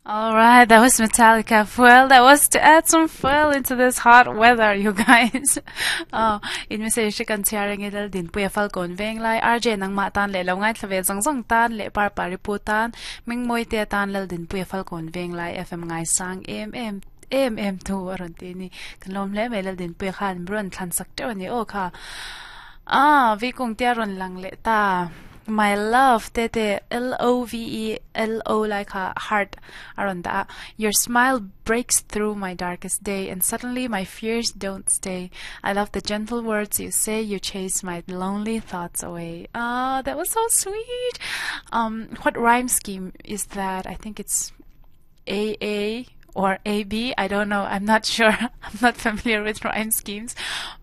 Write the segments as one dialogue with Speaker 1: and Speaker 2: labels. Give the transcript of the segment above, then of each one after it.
Speaker 1: All right, that was Metallica Fuel. That was to add some fuel into this hot weather, you guys. Oh, in message kan chhiar ange lal din puia falkawn veng lai RJ nangmah tan leh lo ngaithla ve zawng zawng tan leh par pari pu tan mingmawi te tan lal din puia falkawn veng lai FM ngai sang em em em em thu a rawn ti a ni. Kan lawm hle mai lal din puia khan rawn thlan sak teuh a ni aw kha. Ah, vi kung tia rawn lang leh ta. My love te te L O V E L O lai kha heart a rawn dah a. Your smile breaks through my darkest day and suddenly my fears don't stay. I love the gentle words you say, you chase my lonely thoughts away. Ah, that was so sweet. Um, what rhyme scheme is that? I think it's A A or A B. I don't know. I'm not sure. I'm not familiar with rhyme schemes,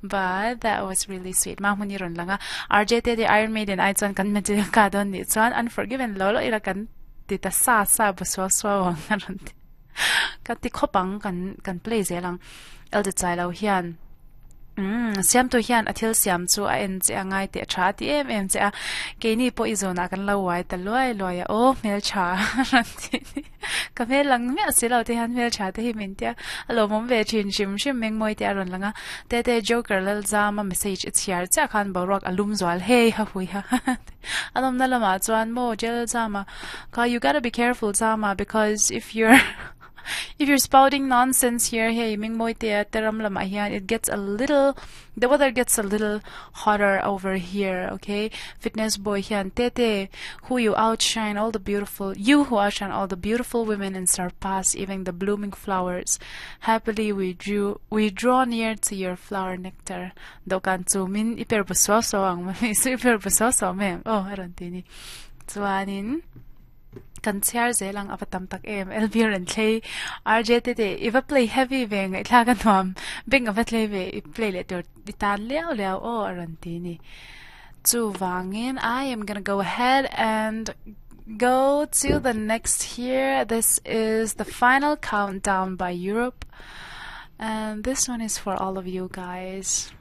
Speaker 1: but that was really sweet. Ma hmuni rawn lang a. RJ te the Iron Maiden ai chuan kan Metallica dawn nih chuan Unforgiven lo lo ila kan ti ta sa sa bu suau suau ang a rawn ti. Ka ti khawp ang kan kan play zel ang. Elder chai lo hian Umm, siamtu hian a thil siam chu a en che a ngai teh tha a ti em em che a, keini pawh i zawnah kan lo uai ta luai luai a, aw hmeltha rawn ti ni, ka hmel lang miah si lo te hian hmeltha te hi min tia, a lawmawm ve thin hrim hrim mengmawi te a rawn lang a, Tete Joker Lalzama message i chhiar chiah khan boruak a lum zual hei ha hui ha a nawmna lamah chuan maw Jalzama kha you gotta be careful Zama because if you're If you're spouting nonsense here, hei mingmawi te a te ram lamah hian it gets a little, the weather gets a little hotter over here, okay? Fitness boy hian te te, who you outshine all the beautiful, you who outshine all the beautiful women and surpass even the blooming flowers. Happily we drew, we draw near to your flower nectar. Dawhkan chumin i per bu suau suau ang mami, su i per bu suau suau mai ang aw a rawn ti ni. Chuanin. Kan chhiar zel ang a va tam tak em Elvir an thlei RJ te te i va play heavy ve ngaihthlak a nuam beng a va thlei ve i play leh tur i tan liau liau aw a rawn ti ni chuvangin I am gonna go ahead and go to the next here this is the final countdown by Europe and this one is for all of you guys.